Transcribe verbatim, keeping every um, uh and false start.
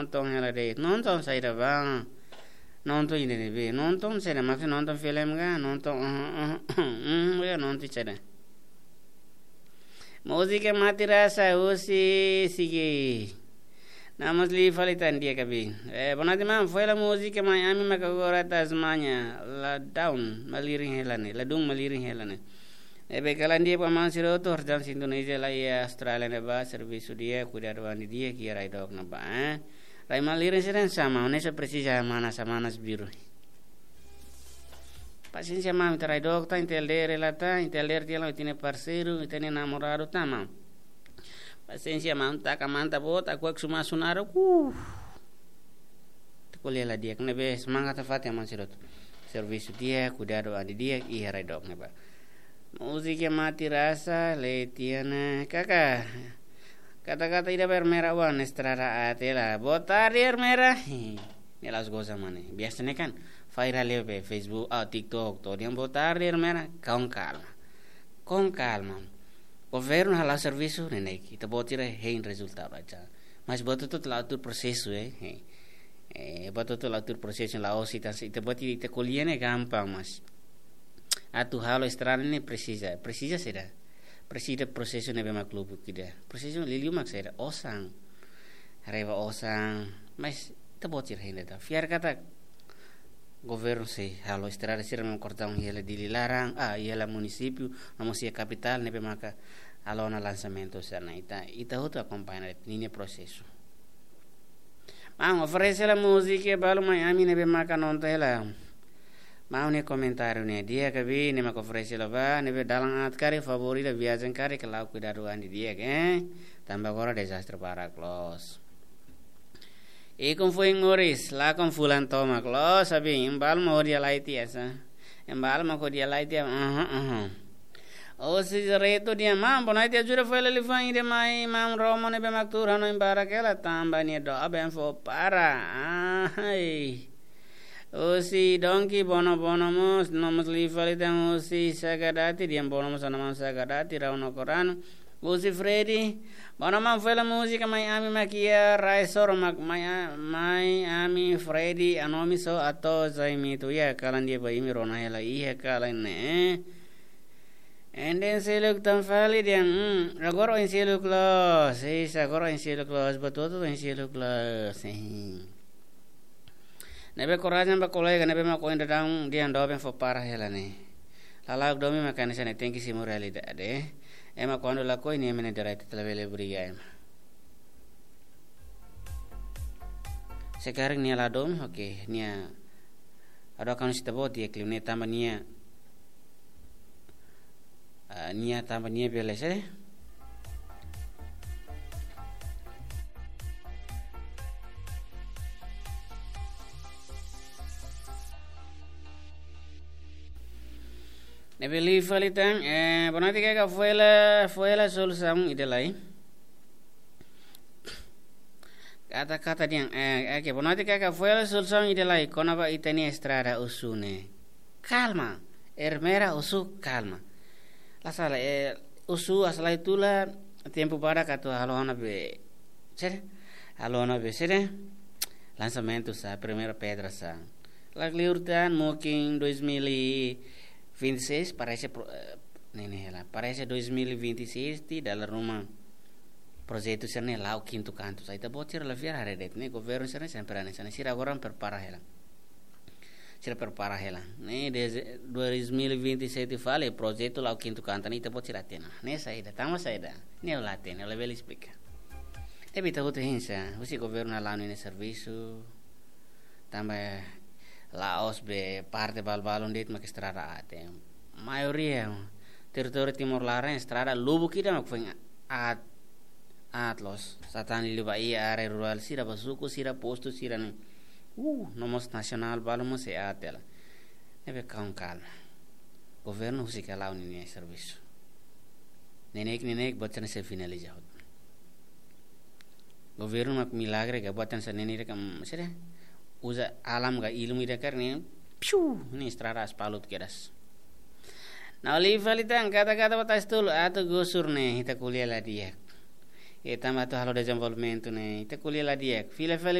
nonton hela de'it. Nonton saida bá? Nonton ida ne'ebé? Nonton saida, maksud nonton filme ka? Nonton, uh, uh, uh, uh, ya, nonton saida. Múzika mate rasa husi Sigi. Namun liu fali tan di'ak, Abi. Eh, boa noite, maun. Foin hela múzika Mai Ami maka agora Tasmania. Ladún malirin hela ne'e. Ladún malirin hela ne'e. Ne'ebé kalan di'ak ba maun sira hotu, horiseik Indonézia, laiha Austrália ne'ebá, servisu di'ak, kuidadu an di'ak, iha rai dook ne'ebá, eh. Rai malirin sira hanesan maun, ne'e só presiza manas, manas biru. Pasiénsia maun, ita rai dook tan, ita L D R hela tan, ita L D R tiha ona, ita-nia parseiru, ita-nia namoradu tan, maun. Pasiénsia maun, taka manta boot, aku ek suma sunaro, uh. Ita ko'alia la di'ak, ne'ebé semangat nafatin maun sira hotu. Servisu di'ak, kuidadu an di'ak, iha rai dook ne'ebá. Múzika mate rasa, Letiana, kaka. Kata-kata ida ba Ermera oan, estrada aat hela. Boa tarde, Ermera. Ne'e la'ós goza mak ne'e. Biasa ne'e kan, viral iha Facebook, ah, TikTok, to'o dehan boa tarde, Ermera. Com calma. Com calma. Governu hala'o servisu, neineik, ita-boot sira hein rezultadu aja. Mas buat hotu-hotu la'o tuir prosesu, eh. Eh, eh, buat hotu-hotu la'o tuir prosesu, la'ós ita, ita-boot ita ko'alia ne'e gampang, mas atu halo estrada ne'e presiza, presiza saida? Presiza prosesu ne'ebé mak lubuk ida. Prosesu liuliu mak saida? Osan. Haree ba osan, mas ita-boot sira hein de'it. Fiar katak governu sei halo estrada sira no kordon iha Dili laran, ah, iha munisípiu, no mós iha kapitál ne'ebé maka halo ona lansamentu sira-ne'e. Ita, ita hotu akompaña ninia prosesu. Maun, oferese hela múzika balu Mai Ami ne'ebé maka nonton hela. Maun nia komentáriu ne'e di'ak, Abi, ne'e maka oferese hela ba, ne'ebé dalan aat karik, favór ida viajen karik, ke la'o kuidadu an di'ak, eh. Tanba agora dezastre barak loos. Ikun foin moris, lakon fulan tomak loos, Abi, imi balu mak hodi halai tiha sá. Imi balu mak hodi halai tiha, aha, aha. Husi Retu dehan, maun, boa noite, ajuda foin hela liafuan ida mai maun Romo ne'ebé mak tuur hanoin barak hela tanba nia doben fó para. Ahai. Husi Donki, bonobono mós, no mós liu fali tan husi Sagadati, dehan bono mós ona maun Sagadati, Rau no Korano. Husi Freddy, bono maun, foin hela múzika Mai Ami mak iha rai Soro mak Mai A-, Mai Ami Freddy, Anomi só Ato Zaimitu, iha kalan di'ak ba imi rona hela iha kalan ne'e. Enden seluk tan fali dehan, hmm, agora oin seluk loos, sis, agora oin seluk loos, buat hotu-hotu oin seluk loos, sis. Ne'ebé korajen ba kolega ne'ebé mak oin daudaun dehan doben fó para hela ne'e. Lala'ok domin mak hanesan ne'e, tenke simu realidade. Ema kuandu lakohi nia mene direitu, ita labele obriga ema. Se karik nia la domin, oke, nia ado kan sita boti ya klim ne'e tanba nia, ah, nia tanba nia bele se. Ne'ebé liu fali tan, eh, boa noite, kaka foin hela, foin hela solusaun ida lai. Kata-kata dehan, eh, oke, boa noite, kaka foin hela solusaun ida lai kona-ba ita-nia estrada Osu ne'e. Kalma, Ermera, Osu, kalma. La sala, eh, Osu asa lai tula, tempu badak atu halo ona be, sede? Halo ona be, sede? Lansamentu sá, primeira pedra sá. La kleur tan, mungkin dois mil e vinte e seis, parese pro-, eh, ne'e, ne'e hela. Parese dois mil e vinte e seis, ita dala ruma projetu sira-ne'e la'o kintu kantu sá. Ita-boot sira la fiar haree de'it ne'e, governu sira-ne'e sempre hanesan ne'e, sira agora prepara hela. Sira prepara hela. Ne'e, desde dois mil e vinte e sete fali, projetu la'o kintu kantu ne'e, ita-boot sira hatene. Ne'e saida, tanba saida? Ne'e la hatene, labele esplika. Tapi ita hotu hein sá, husi governu hala'o ninia servisu, tanba la'ós be parte balu-balun de'it mak estrada aat. Maioria territóriu Timor laran estrada lubuk ida mak foin aat, aat loos. Sá tan liuliu ba iha área rurál sira, ba suku sira, postu sira-ne'e. Uh, no mós nasionál balu mós sei aat hela. Ne'ebé com calma. Governu husik hala'o ninia servisu. Neineik, neineik, buat sira-ne'e sei finaliza hotu. Governu mak milagre ka, buat hanesan ne'e ida ka, mm, sede? Uza alam ka, ilmu ida karik ne'e, piu, ne'e estrada asfaltu kedas. Ne'e liu fali tan, kata-kata ba Tasi Tolu, atu gusur ne'e, ita ko'alia la di'ak. Ita mak atu halo dezenvolvimentu ne'e, ita ko'alia la di'ak. Fila fali